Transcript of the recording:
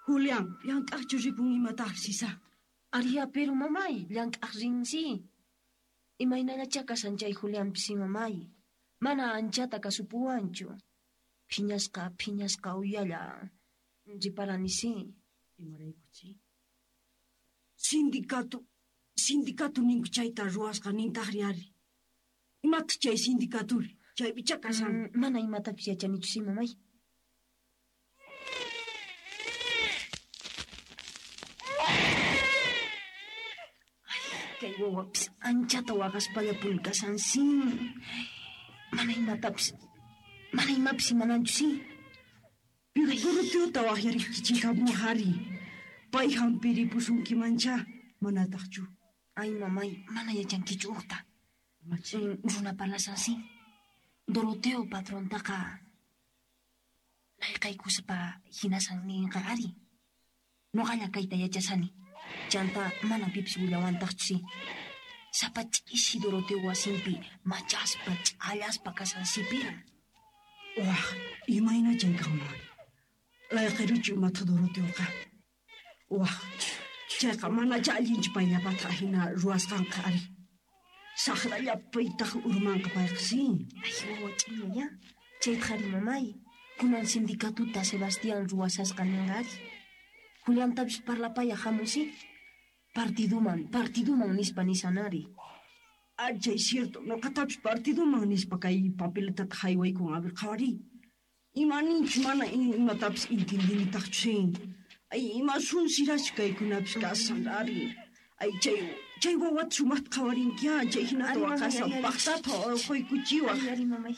Julián, llank'aqchu ripun imataq, Sisa? Aria, pero mamay, llank'aq rinsi. Imaynallachá kashan chay Julianpis mamay. Mana anchata kasupuwanchu. Phiñasqa, phiñasqa uyalla. Riparani si. Imaraykuchi? Sindicato, sindicato ninku chayta ruwasqa nintaqri ari. Imataq chay sindicaturi? Chaypichá kashan. Mana imatapis yachanichu si mamay. Kay wawapis anchata waqaspallapuni kashan si. Mana imatapis, mana imapis imananchu si. Pero Doroteota waqyarikichik ari. Pay hampiripusunkimanchá, manataqchu. Ay mamay, mana yachankichu uqta. Imachi? Runa parlashan si. Doroteo patrontaqa layqaykuspa hinasan ninqa ari. Noqalla kayta yachasani. Chanta mana pipis willawantaqchu si. Sapa ch'isi Doroteo wasinpi machaspa ch'allaspa kashan sipiran. Waj, imayna chay kanman? Layqiruchu imata Doroteoqa? Waj, chayqa manachá allinchu payllapata hina ruwasqanqa ari. Saqrallapitaq urmanqa payqa si. Ay, wawa ch'inlla, chayta ari mamay. Kunan sindicatuta Sebastián ruwasasqa ninqa ari. Juliantapis parlapaya hamun si. Partiduman, partiduman nispa nisan ari. Ah, chay cierto, noqatapis partiduman nispa kay papeletata haywaykun, a ver, qhawariy. Ima ninchu mana imatapis intindinitaqchu si. Ay, ima sunsirachu kaykunapis kashan ari. Ay, chay wawata sumaqta qhawarinki, ah, chay hinata Ari, mamay, waqashan ari, ari. paqtata urquykuchiwaq. Ari, ari, mamay.